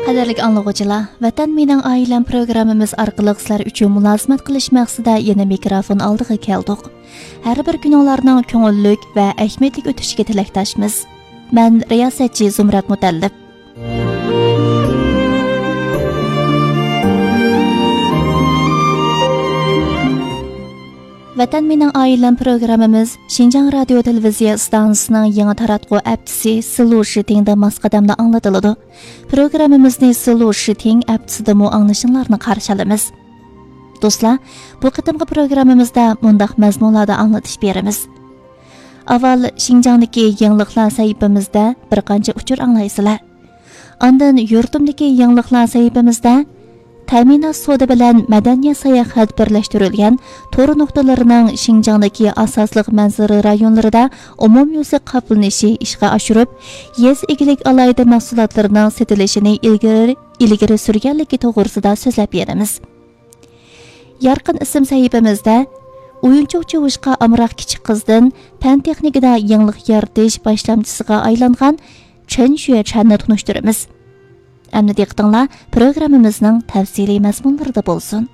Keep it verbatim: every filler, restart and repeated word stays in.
قەدىرلىك ئاڭلىغۇچىلار، ۋەتەن مېنىڭ ئائىلەم پروگراممىمىز ئارقىلىق سىلەر ئۈچۈن مۇلازىمەت قىلىش مەقسىتىدە يەنە مىكروفون ئالدىغا كەلدۇق. ھەر بىر كۈنۈڭلارنىڭ كۆڭۈللۈك ۋە ئەھمىيەتلىك ئۆتۈشىگە تىلەكداشمىز. مەن رىياسەتچى زۇمرەت مۇتەللىپ. ۋەتەن مېنىڭ ئائىلەم پروگراممىمىز شىنجاڭ رادىيو تېلېۋىزىيە ئىستانسىسىنىڭ يېڭى تاراتقۇ ئەپچىسى سىلۇ شىتىڭدە ماس قەدەمدە ئاڭلىتىلىدۇ. پروگراممىمىزنى سىلۇ شىتىڭ ئەپچىسىدىمۇ ئاڭلىشىڭلارنى قارشى ئالىمىز. دوستلار، بۇ قېتىمقى پروگراممىمىزدا مۇنداق مەزمۇنلاردا ئاڭلىتىش بېرىمىز. ئاۋۋال شىنجاڭدىكى يېڭىلىقلار سەھىپىمىزدە بىر قانچە ئۇچۇر ئاڭلايسىلەر. ئاندىن يۇرتۇمدىكى يېڭىلىقلار سەھىپىمىزدە تەمىنات سودا بىلەن مەدەنىيەت ساياھەت بىرلەشتۈرۈلگەن تور نۇقتىلىرىنىڭ شىنجاڭدىكى ئاساسلىق مەنزىرە رايونلىرىدا ئومۇميۈزلۈك قاپلىنىشى ئىشقا ئاشۇرۇپ، يېزا ئىگىلىك ئالاھىدە مەھسۇلاتلىرىنىڭ سېتىلىشىنى ئىلگىرى، ئىلگىرى سۈرگەنلىكى توغرىسىدا سۆزلەپ بېرىمىز. يارقىن ئىسىم سەھىپىمىزدە ئويۇنچۇق چوۋۇشقا ئامراق كىچىك قىزدىن پەن تېخنىكىدا يېڭىلىق يارىتىش باشلامچىسىغا ئايلانغان چېن شۈەچەننى تونۇشتۇرىمىز. ئەمدى دىققىتىڭلار پروگراممىمىزنىڭ تەپسىلىي مەزمۇنلىرىدا بولسۇن.